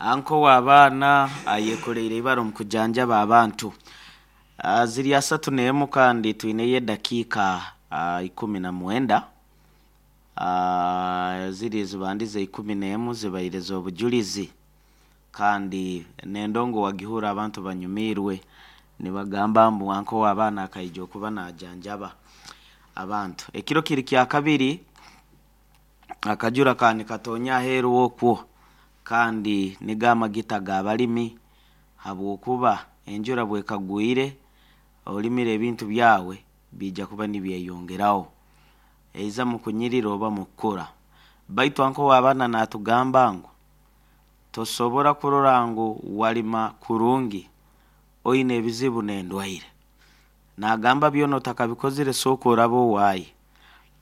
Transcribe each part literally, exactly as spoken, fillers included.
Anko w'abaana ayekoreire ibara omu kujanjaba abantu. Ah, ziri asatu n'emu kandi twineyo edakiika ah, ikumi na mwenda. Ah, ziri zibandize ikumi n'emu zibaire z'obujulizi, kandi n'endongo wagihura abantu banyumiirwe nibagamba mbu anko w'abaana akaija okuba najanjaba abantu. Ekiro kiri kya kabiri, akajura ka nikatonya aheeru okwo, kandi nigo amagita g'abalimi, habwokuba enjura bwekagwire olimire ebintu byawe biija kuba nibyeyongeraho, eiza mukunyirira oba mukukura. Baitu anko w'abaana natugamba ngu tosobora kurora ngu walima kurungi oine ebizibu n'endwaire. Nagamba byona otakabikozire, sooka oraba owaaye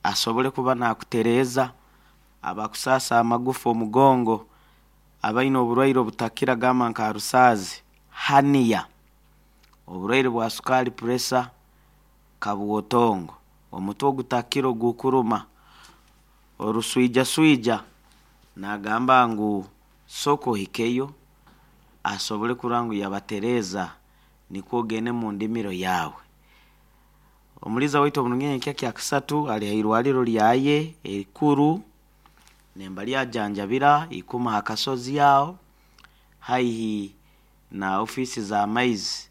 asobole kuba nakutereeza abakusaasa amagufa, omugongo, abaine oburwaire obutakira, gamba nka rusaazi, haniya, oburwaire bwa sukaali, pressure, kabwotongo, omutwe ogutakira ogukuruma, oruswijaswija. Nagamba ngu sooka ohikeyo asobole kurora ngu yabatereeza, nikwo ogende mu ndimiro yaawe. Omuliiza waitu oburungi enkya kya kasatu ali ha irwariro lyaye erikuru nemba lyajanjabira ikuma ha kasozi aho haihi na ofiisi z'amaizi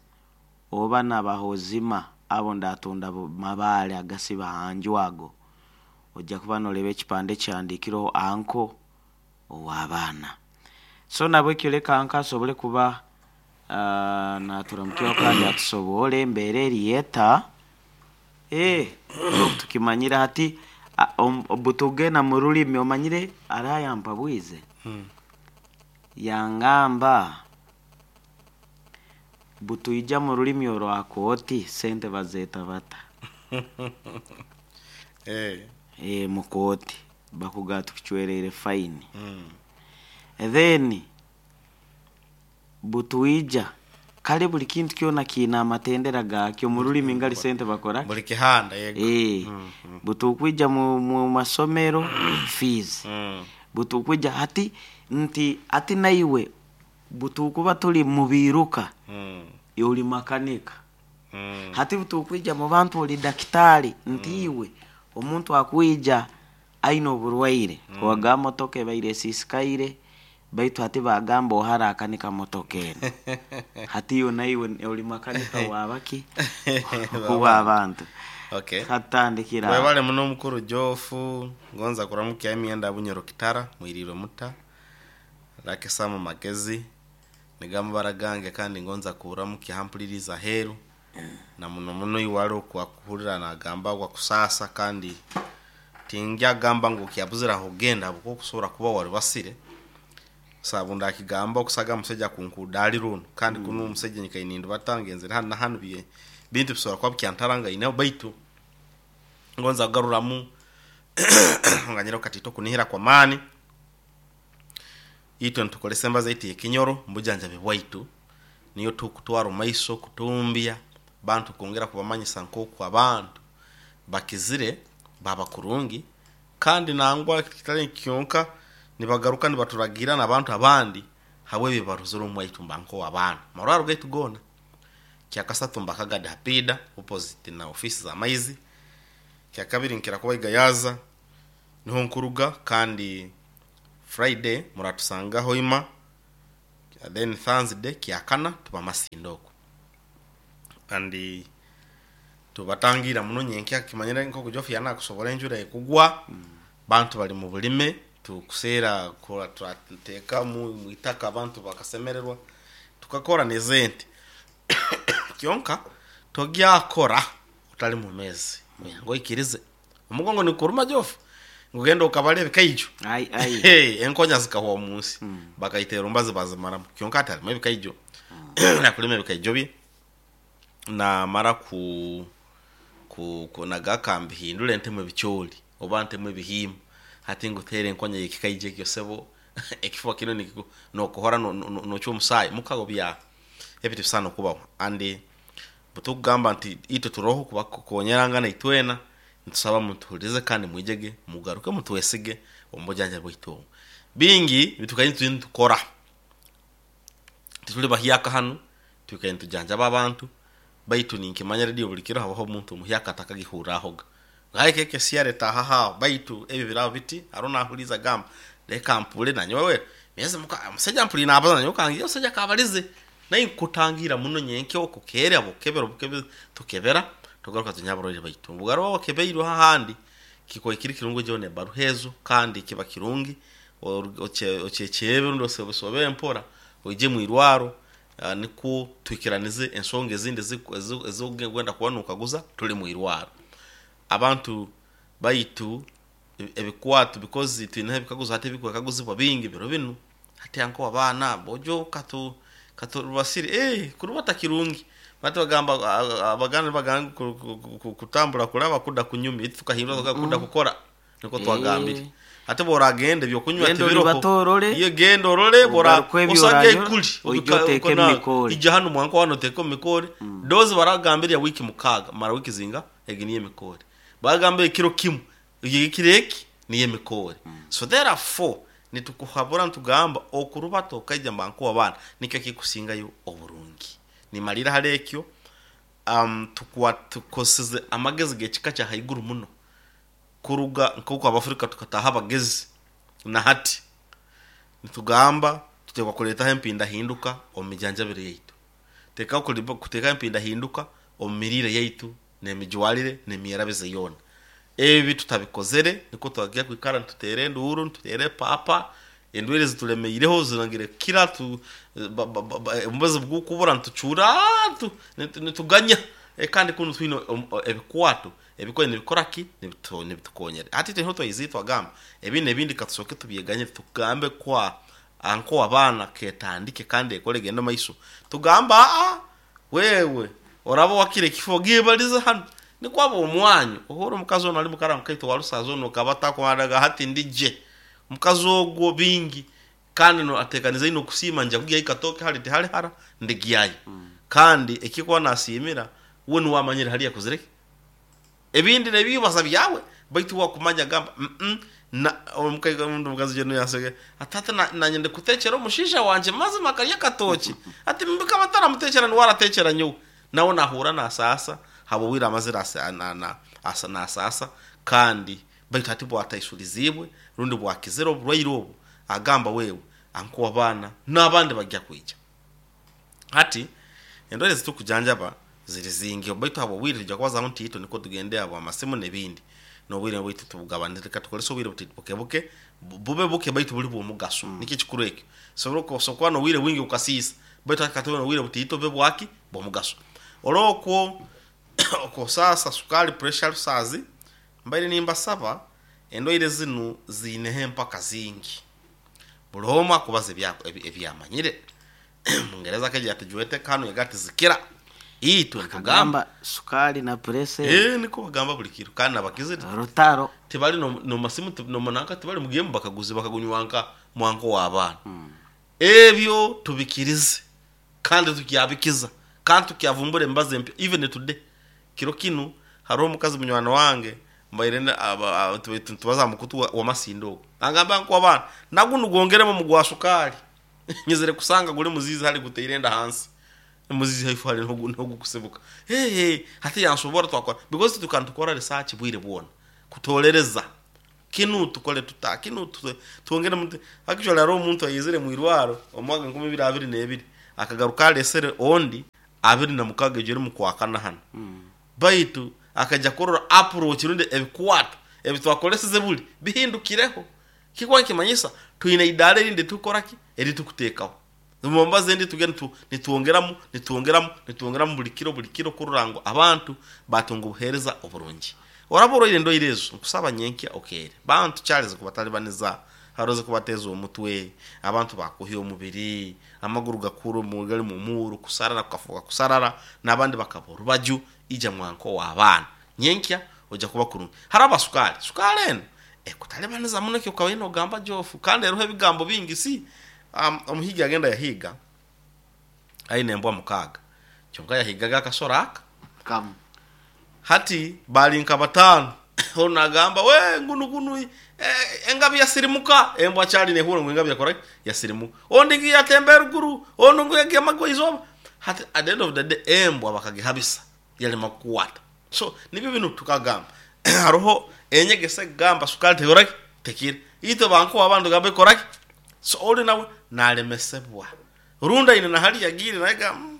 oba n'abahozima abo ndatunda mabaale agasiba hanju ago, ojja kuba noreeba ekipande kihandiikireho anko ow'abaana. So nabwekyo leka anko asobole kuba uh, naturamukyaho kandi atusoboole embeera eri eta. Eh, tukimanyire hati butugenda mu rulimi omanyire arayampa bwize yangamba butwija mu rulimi orwa kooti sente bazeeta bata? Eh. E, mu kooti bakuga tukucwereire fine. Mm. Then butwija kale buli kintu kyona kiina amatendera gakyo mu rulimi ngali sente bakora. Buli kihanda, yego. Eh, Mm, mm. butukwija mu, mu masomero fees. Mm. Butukwija hati nti ati naiwe butukuba tuli mu biiruka, Mm. oli makanika. Mm. Hati butukwija mu bantu oli dakitaali, nti iwe omuntu akwija aine oburwaire mm. Waga motoka ebaire esisikaire, baitu hati bagamba ohara akanika motoka eno, hati iwe naiwe oli makanika wabaki w'abantu. Okay. Hatandikira. Webale muno mukuru Jofu, ngonza kuramukya emyenda Bunyoro Kitara, mwirirwe muta. Rakesamu magezi nigamabara gange, kandi ngonza kuramukya hampuliriza heru na muno muno iwale okwakuhurira nagamba gwa kusasa, kandi tingya gamba ngu kyabuzira kugenda buko kusobora kuba wali basire sabu ndakigamba okusaga musajja kunkudali runo kandi mm. Kuno omusajja nyikainindi batangenzere hanu na hanu bye bintu bisobora kuba byantaranga ine, baitu ngonza kugaruramu nganyira katito kunihira kwa mani itwe ntukolesa embaza itu ekinyoro mbujanjabi bwaitu niyo tukutwara maiso kutumbya bantu kwongera kubamanyisa nkoku abantu bakizire baba kurungi, kandi nangwa kitali kyonka nibagaruka nibaturagira n'abantu abandi habwe bibaruzire omwaitu mbanko abaana marwaro gaitu gona. Kyakasatu mbakagada hapida opposite na ofisi za maizi. Kyakabiri nkira kuba igayaza niho nkuruga, kandi Friday muratusanga hoima, then Thursday kyakana tuba masindoko kandi tubatangira muno nyenkya kimanyire nko Jofu yana kusobora enjura ekugwa mm. Bantu bali mu bulime tukuseera kora turateka mu mwitaka abantu bakasemererwa tukakora nezente kyonka togyakora utali mu mezi ngo ikirize omugongo nikuruma Jofu ngugenda okabale ebikaijo. Ai ai. Hey, enkonya zikahwa munsi mm. Bakaitera ombazi bazimaramu kyonka atalimu ebikaijo mm. Nakulima ebikaijo bye namara ku ku kunaga mbihindule ntemu ebikyoli oba ntemu ebihimba hati ngutere enkonya yekikaije ekyo sebo ekifuba kino nikiku nokuhora nokyo omusaayi mukago bya ebintu bisana okubaho. Andi butukugamba nti itwe turoho kubakonyerangana itwena ntusaba mutuhulize kandi mwijege mugaruke mutwesige omubujanja bwaitu obu bingi bitukayi tukora. Tituli bahyaka hanu, twikaire nitujanjaba abantu, baitu ninkimanya radio buli kiro habaho omuntu omuhyaka atakagihurrahoga. Ngaye keke siare tahaha baitu ebi birabo biti arona ahuliza gamba leka mpule na nyowe miezi muka musajja mpuli nabaza na nyowe kangi musajja kabalize naye nkutangira muno nyenke okukere abo kebero bukebe tukebera tugaruka tunyaburore baitu bugaro kebeirwe hahandi kiko ikiri kirungo jone baruhezo kandi kiba kirungi ochecheebe ndo sobe mpora oje mu irwaro uh, niko twikiranize ensonga ezindi ezogenda kubanuka guza tuli mu irwaro abantu baitu ebikwatu because twine ebikaguzo hati ebikaguzo bingi biro binu hati anko abana bojo katu katu basiri eh kurubata kirungi batu bagamba abagana baganga kutambula kulaba kuda kunyumi tukahindura kuda kukora niko twagambire ate boragende byokunywa tibiro iyo gendo role bora osage kuli ujoteke mikori ija hano mwanko hano teko mikori mm. Dozi baragambira wiki mukaga mara wiki zinga eginiye mikori bagambye kiro kimu kireki niye mikori mm. So therefore nitukuhabura ntugamba okurubato okaija mbanko abana nikyo kikusingayo oburungi nimalira halekyo um tukwa tukoseze amagezi gechika cha haiguru muno kuruga nkoko abafrika tukataha abagezi na hati nitugamba tutekwa kuleta empinda hinduka omijanjabire yaitu teka kuteka empinda hinduka omirire yaitu nemijwalire nemiyerabize yona ebi tutabikozere niko twagiye kwikara tutere nduru tutere papa endwere zitulemeireho zirangire kira tu mbaze bwukubura ntucura tu nituganya kandi kuno twino ebikwato ebikoye nibikoraki nibitukonyere ati tenho twayizitwa gamba ebine ebindi katusoke tubyeganye tugambe kwa anko abana ketandike kandi ekole gendo maiso tugamba a wewe orabo wakire kifo gibaliza hano nikwabo omwanyu ohoro mukazi ono ali mukara mukaito warusazo no kabata kwadaga hati ndije mukazi ogwo bingi kandi no atekaniza ino kusima nja kugiya ikatoke hali tihali hara ndigiyayo mm. Kandi ekikwa nasimira we nuwamanyira hali yakuzireke ebindi nebibaza byawe baitu wakumanya gamba mm -mm, na omukazi omukazi jeno yasege atata na nanyende kutekera omushisha wanje mazima kalya katoki ati mbika matara mutekera ni waratekera nyo nawo nahura na sasa habo wira amazira asa na na asa na sasa kandi baitu ati bwataisurizibwe rundi bwakizero burwairo obu agamba wewe anko abana nabandi bajya kwijya hati endore zitukujanjaba ziri zingi baitu habo wira jya kwaza ntito niko tugende abo amasimu nebindi no wira baitu tubugabanirika tukolesa wira buke buke bube buke baitu buli bwomugaso mm. Niki kikuru ekyo soboro sokwa no wira wingi ukasisa baitu akatona wira butito be bwaki bwomugaso olokwo oko sasa sukali pressure sazi mbaire nimba saba endoire zinu zinehe mpaka zingi buloma kubaze byako ebyamanyire Mungereza keje atujuete kanu yagati zikira itu kagamba sukali na pressure eh niko bagamba buli kiro kandi nabakize rutaro tibali no, no masimu no manaka tibali mugiye bakaguzi bakagunywanka mwanko wa abana mm. Ebyo tubikirize kandi tukyabikiza kandi tukyavumbure mbaze mpya even today kiro kinu haro mukazi munywana wange mbairene tubaza mukutu wa, wa masindo angamba nko abana naguno gongeremo mugwa sukali nyizere kusanga gule muzizi hali guteirenda hansi muzizi haifu hali no no gukusebuka hey hey hati yansobora twakora because tukantukora research bwire bwona kutolereza kinu tukole tuta kinu tuongere muntu actually aro muntu ayizere mu irwaro omwaga nkumi bibiri abiri nebiri akagaruka lesere ondi abiri na mukaga jeri mukwakana hano mm. Baitu akaja korora approach runde ebikwato ebitwakoleseze buli bihindukireho kikwa kimanyisa tuine idare rinde tukoraki eri tukutekaho mumbaze ndi tugenda tu nituongeramu nituongeramu nituongeramu buli kiro buli kiro kururango abantu batunga obuhereza oburungi oraboro ile ndo irezo nkusaba nyenkia okere bantu Charles kubatalibaniza haroze kubateza omutwe abantu bakuhiye omubiri amaguru gakuru mugali mu muru kusarara kukafuka kusarara nabandi bakabora baju ija mwanko wa abana nyenkia oja kuba kurungi haraba sukali sukali eno ekutalibaniza muno kyo kawino gamba jofu kandi eruhe bigambo bingi si um, omuhiga agenda yahiga aine mbwa mukaga kyonka yahigaga akasora aka kam hati balinka batano Ono agamba we ngunu gunu eh, engabi yasirimuka, embwa kyali nehura ngu engabi yakora yasirimuka, ondi ngi yatemba eruguru, ono ngu yagemagwa izoba. Hati at the end of the day embwa bakagihabisa yalema kukwata. So nibyo binu tukagamba haroho enyegesa egamba sukali tekoraki tekire, itwe bankuwa abantu gamba ekoraki. So oli nawe nalemesebwa runda ine nahali yagire naye ga mm,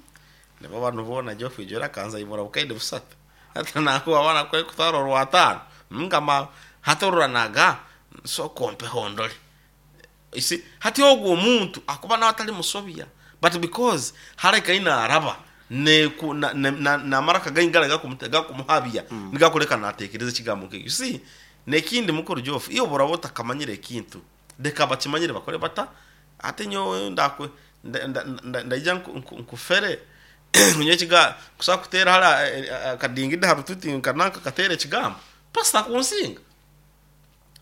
nibo bantu bona jofu ijora kanza ibora bukaide busatu hata nakuwa bana kwe kutwara orwatano ngama hatorora naga so kompe hondole isi. Hati ogwo omuntu akuba nawe atali musobya, but because hareka ina araba ne ku- na- na- na- namara kagaingara gakumuhabya mm. nigakuleka natekereza ekigambo nkekyo. You see, nekindi mukuru jofu iyo boraba otakamanyire ekintu leka bakimanyire bakore bata. Ate nyowe ndakwe nda- nda- nda- ndaija nku- nku- nkufere nyowe ekiga kusobola kuteera hara eh, eh, akadingidi harututi nkananka kateera ekigambo pasita kunsinga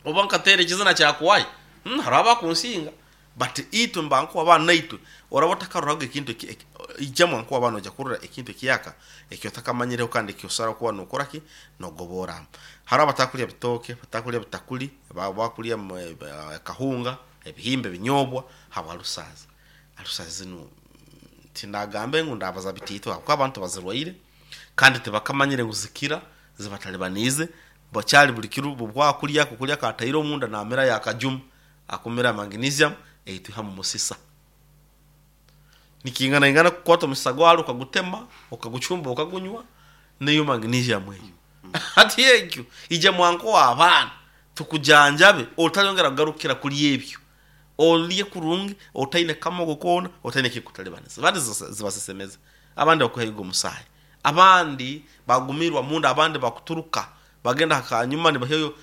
oba nkateera ekizina kyakuwayo mm, hariho abakunsinga. But itwe mbankuwa abaana naitwe oraba otakaroraga ekintu eki- eki- ijja mwankuwa abaana ojja kurora ekintu ekiyaka ekyo otakamanyireho kandi ekyosara kuba nokora ki nogoboramu. Hariho abatakulya bitooke, batakulya bitakuli, ba- bakulya mu- eh, kahunga, ebihimba, ebinyobwa habwa alusazi. Alusazi zinu tindagambe ngu ndabaza bitiito habwokuba abantu bazirwaire kandi tibakamanyire ngu zikira zibatalibaniize bakyali buli kiro bwakulya kukulya kataire omunda namira yakajuma akumira magnesium eitwiha mu musisa nikingana ingana kukwata omusisa gwalo ukagutema ukaguchumba ukagunywa niyo magnesium eyo. Hati ekyo ija mwanko w'abaana tukujanjabe otayongera kugarukira kuli ebyo, olye kurungi otaine kamogo koona otaine kikutalibaniza. Abandi zibasesemeza, abandi bakuhaiga omusaayi, abandi bagumirwa munda, abandi bakuturuka bagenda hakanyuma nibaheyo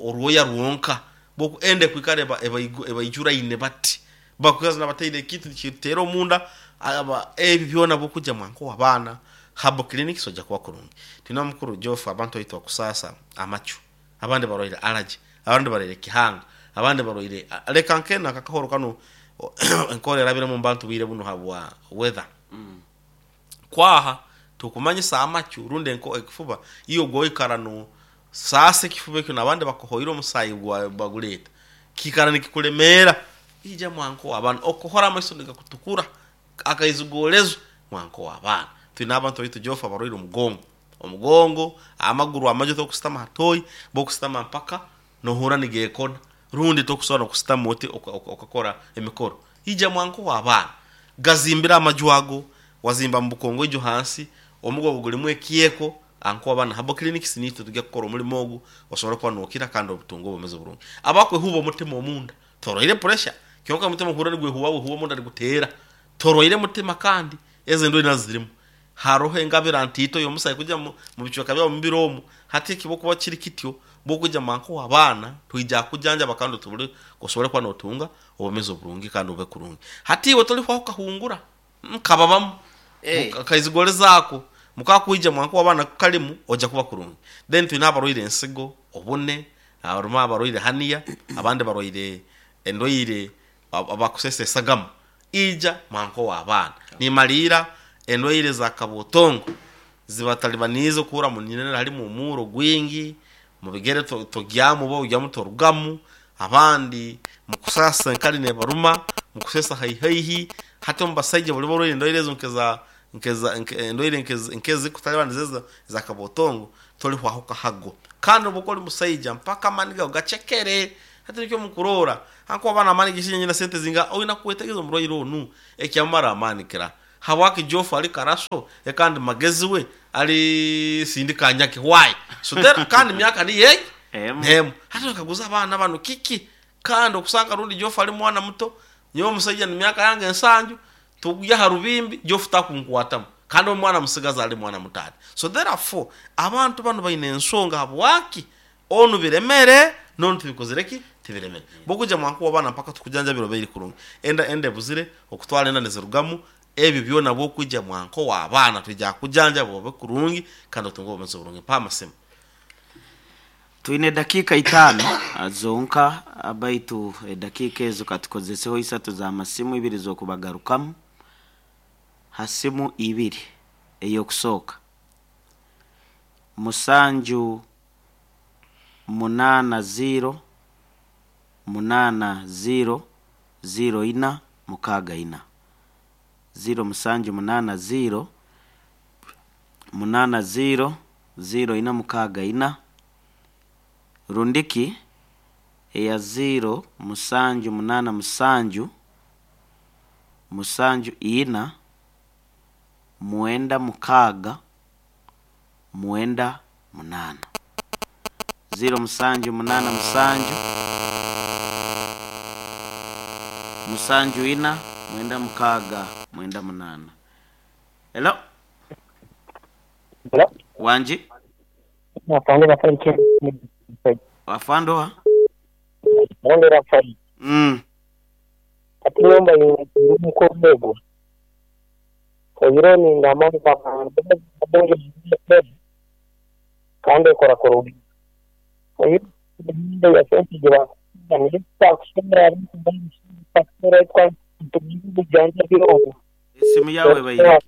orwoya rwonka boku ende kwikara eba- ebaigu- ebaijuraine bati bakukaza nabataire ekintu nikitera omunda aba ebi byona bokuja mwanko w'abaana habo clinic soja kuba kurungi. Tina mukuru jofu abantu oitwa kusasa amachu, abandi barwaire allergy, abandi barwaire kihanga, abandi barwaire leka nkena kakahoro kano enkora erabire mu bantu bwire buno habwa weather kwaha tukumanyisa amachu rundi enko ekifuba iyo gwoikara no sasa ekifuba ekyo nabandi bakuhoire omusayi gwa baguleta kikara nikikulemera ija mwanko w'abaana okuhora amaiso nigakutukura akaizigolezo mwanko w'abaana. Twine abantu baitu jofu abarwaire omugongo, omugongo amaguru amajo tokusitama hatoyi bokusitama mpaka nohura nigekona rundi tokusobora nokusitama oti oka- oka- okakora emikoro ija mwanko w'abaana gazimbira amaju ago wazimba mu bukongo ijo hansi omugongo gulimu ekyeko anko abana habo clinics nitwe tujya kukora omulimo ogu osobora kuba nokira kandi obutunga obumeze burungi. Abakwehuba omutima omunda toroire pressure kyonka omutima kuhura nigwehuba wehuba omunda niguteera toroire mutima kandi ezo ndwaire nazo zirimu haroho engabira ntito y'omusayi kujya mu mu bicweka byabo mubiri omu hati ekibo kuba kiri kityo bokujya manko w'abaana twija kujanjaba kandi otubule osobole kuba notunga obumezi oburungi kandi ube kurungi. Hati iwe tolihwaho kahungura nkababamu Eh. kaizigole zako mukakwija mwanko w'abaana kalimu ojja kuba kurungi. Then twine abarwaire ensigo obune, abarumu abarwaire haniya, abandi barwaire endwaire ab- abakusesa esagama ija mwanko w'abaana nimaliira endwaire za kabotongo zibatalibaniize okuhura muninira halimu omuro gwingi mubigere to- togyamu oba ogyamu torugamu, abandi mukusasa enkali nebaruma mukusesa haihaihi. Hati omu basaija buli barwaire endwaire ezo nkeza nkeza nke- endwaire nkezi- nk'ezikutalibaniza eza za kabotongo tolihwaho kahago kandi obu oli musaija mpaka amani gawe gacekere. Hati nikyo mukurora hankuba abana amani gishinye na sente zinga oyina kwetegeza omurwaire onu ekyamara amani kira habwaki jofu ali karaso ekandi magezi we ali sindikanyaki why so there kandi myaka ni yegi Emu. nemu hati bakaguza abaana bano kiki kandi okusanga rundi jofu ali mwana muto nyowe omusajja ni myaka yange ensanju tugya ha rubimbi jofu takunkwatamu kandi omwana musigazi ali mwana mutati. So therefore abantu bano baine ensonga habwaki onu biremere nonu tibikozire ki tibiremere bokuja mwankuwa abaana mpaka tukujanjabira obeiri kurungi enda enda ebuzire okutwara enda nizirugamu ebyo byona bwokuja mwanko w'abaana twija kujanjaba obe kurungi kandi otunge obumezi burungi mpa amasimu. Twine dakika itano ah, zonka ah, baitu edakiika ezo katukozeseho isatu za masimu ibiri z'okubagarukamu ha simu ibiri ey'okusooka musanju munana ziro munana ziro ziro ina mukaga ina ziro musanju munana ziro munana ziro ziro ina mukaga ina rundiki eya ziro musanju munana musanju musanju ina mwenda mukaga mwenda munana ziro musanju munana musanju musanju ina mwenda mukaga mwenda munana. Hello. Hello. Wanji. Afande Rafael Ken. Afande wa? Afande Rafael. Mm. Ati nyumba y'umukomego. Oyiro ni ndamani kwa kandi ekora kurungi. Oyiro ya sente gira Esimu yawe bayireke.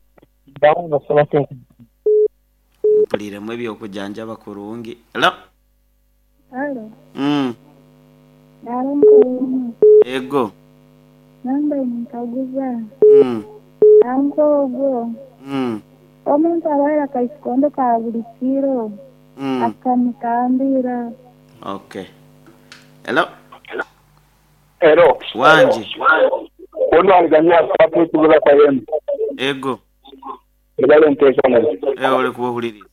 Mpuliremu ebyokujanjaba kurungi. Hello. Halo. Mm. Nalonko. Ego. Namba nkaguza. Mm. Anko ogwo. Mm. Omuntu abaire akaisikondo ka buli kiro. Mm. Akamutambira. Okay. Hello. Hello. Wanji. Ono aliganya sababu tugula kwa yenu. Ego. Ebale ntesana. Eh ole kuwuliriza.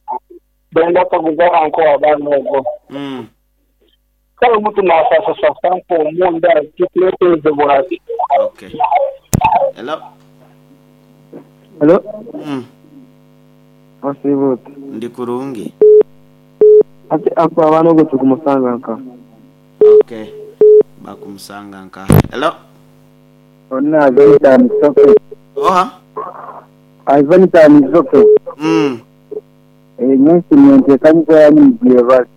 Benda kaguza anko abana ogo. Mm. Kale omuntu nasasa sasa nko omunda kikulete bwati. Okay. Hello. Hello. Mm. Osibut. Ndi kurungi. Ati ako abana ogo tukumusanga nka. Okay. Bakumusanga nka. Hello. Onna Ivanita Misoke. Oha. Ivanita Misoke. Mm. Eh nyinsi nyentekanyiza yanyu bwebali.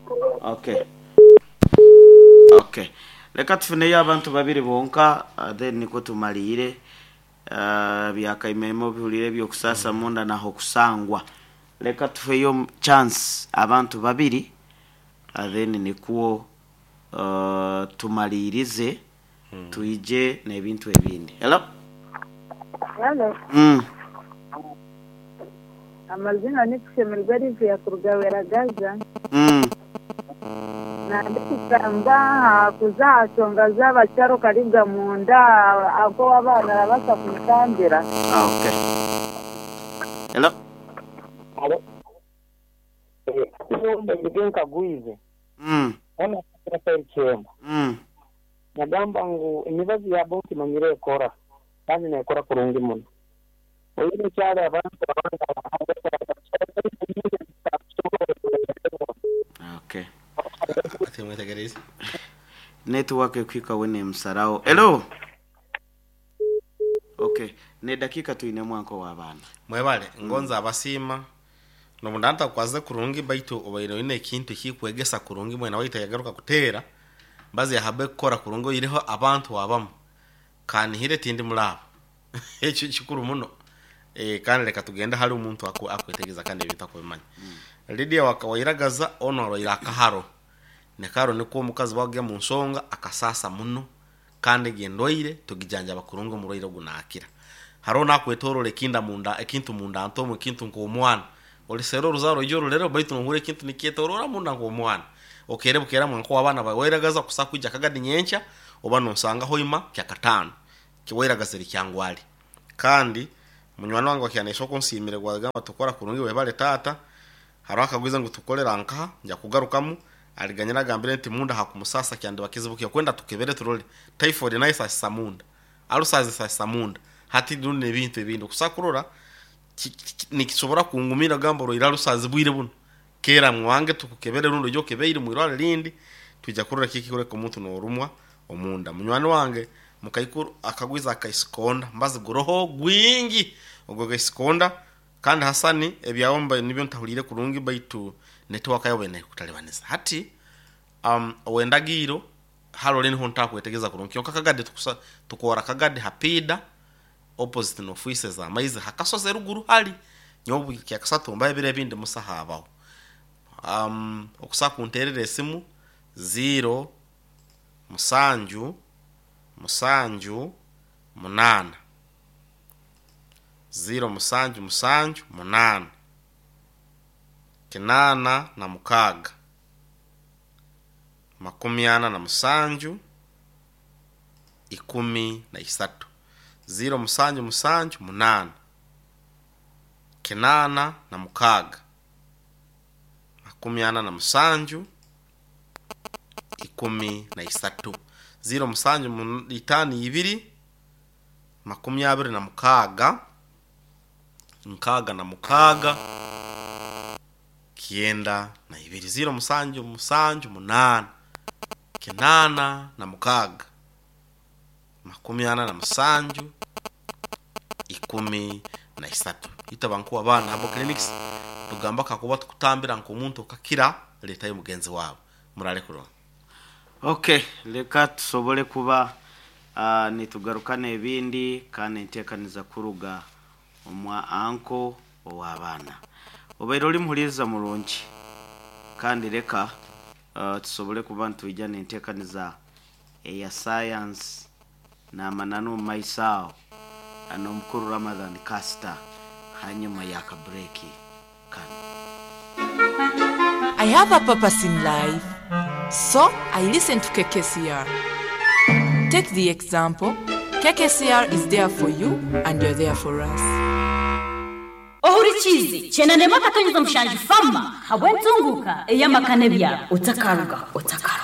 Okay. Okay. Leka tufuneyo abantu babiri bonka uh, then niko tumalire uh, byakaimemo bihulire byokusasa munda naho kusangwa. Leka tufeyo chance abantu babiri uh, then nikuo uh, tumalirize hmm. Tuije n'ebintu ebindi. Hello. Hello. Mm. Amazina ni kushemerwa Livia kurugawera Gaza. Mm. Nandikugamba kuza nsonga z'abakyaro karibwa munda ako abaana arabasa kumutambira. Ah, okay. Hello. Hello. Eh, nkagwize. Mm. Ona Rafael Chemba. Mm. Nagamba ngu emibazi ya bonki manyire ekora kandi nekora kurungi muno. Oyine kyali abantu Okay. Ati mwetegereze. Network ekwika wene msarao. Hello. Okay, ne dakika tuine mwanko wa bana. Mwebale ngonza abasima nobundanta kwaze kurungi baitu obaire oine ekintu kikwegesa kurungi mwena waita yagaruka kutera bazi yahabe kukora kurungi oyireho abantu abamu kanihire tindi mulabo ekyo kikuru muno eh kandi reka tugenda hari umuntu akwetegeza kandi ebintu akubimanya. Mm. Lydia wakawairagaza ono roira akaharo nekaro niko omukazi bagya mu nsonga akasasa muno kandi gendoire tugijanja bakurungu muroire gunakira haro nakwetorole ekinda munda ekintu munda antomo ekintu nko omwana olisero ruzaro ijoro lero baitu nhure ekintu nikyetorora munda nko omwana okere bukera mwanko abana bawairagaza kusakuja kagadi nyencha oba nonsanga hoima kya katano kiwairagaza likyangwali kandi munywani wange wakyanesha okunsimire gwagamba tukora kurungi webale tata haro akagwiza ngu tukolera nkaha nja kugarukamu aliganyira agambire nti munda hakumusasa kyandi bakizibukiye kwenda tukebere turole typhoid nayo isasisa munda alusazi isasisa munda hati nune ebintu ebindi kusakurora nikisobora kungumira gamba roira alusazi bwire buno kera mwange tukukebere rundo jo kebeire mwirwale lindi tujja kurora kiki kureka omuntu norumwa omunda munywani wange mukaikuru akagwiza akaisikonda mbazi guroho gwingi ogwo gaisikonda kandi Hasani ebyawomba nibyo ntahulire kurungi baitu network yawe ne kutalibaniza hati um owendagiro halo leni honta kwetegeza kurungi kyonka kagade tukusa tukora kagade hapida opposite no office za maize hakasoze ruguru hali nyobu kyakasatumba ebire bindi musahabaho um okusa kunterera esimu Ziro musanju musanju munana, ziro musanju musanju munana, kinana na mukaga, makumi ana na musanju, ikumi na isatu. Ziro musanju musanju munana, kinana na mukaga, makumi ana na musanju, ikumi na isatu. Ziro musanju mun- itano ibiri, makumi abiri na mukaga, nkaga na mukaga, kyenda na ibiri. Ziro musanju musanju munana, kinana na mukaga, makumi ana na musanju, ikumi na isatu. Itaba nkuwa abaana abo clinics tugamba kakuba tukutambira nk'omuntu okakira letayo mugenzi wawe murale kurungi. Okay, leka tusobole kuba uh, nitugarukana ebindi kandi enteekaniza kuruga omwa anko ow'abaana. Obaire oli muhuliriza murungi, kandi leka uh, tusobole kuba nitwija n'enteekaniza eya science n'amananu omu maiso aho n'omukuru Ramadhan Caster hanyuma y'akabureki kano. I have a purpose in life, so I listen to K K C R. Take the example, K K C R is there for you and you're there for us. Ohurikizi chenanema akatonyeza mushanju fama habwentunguka eyamakane byabo otakaruga otakaruga.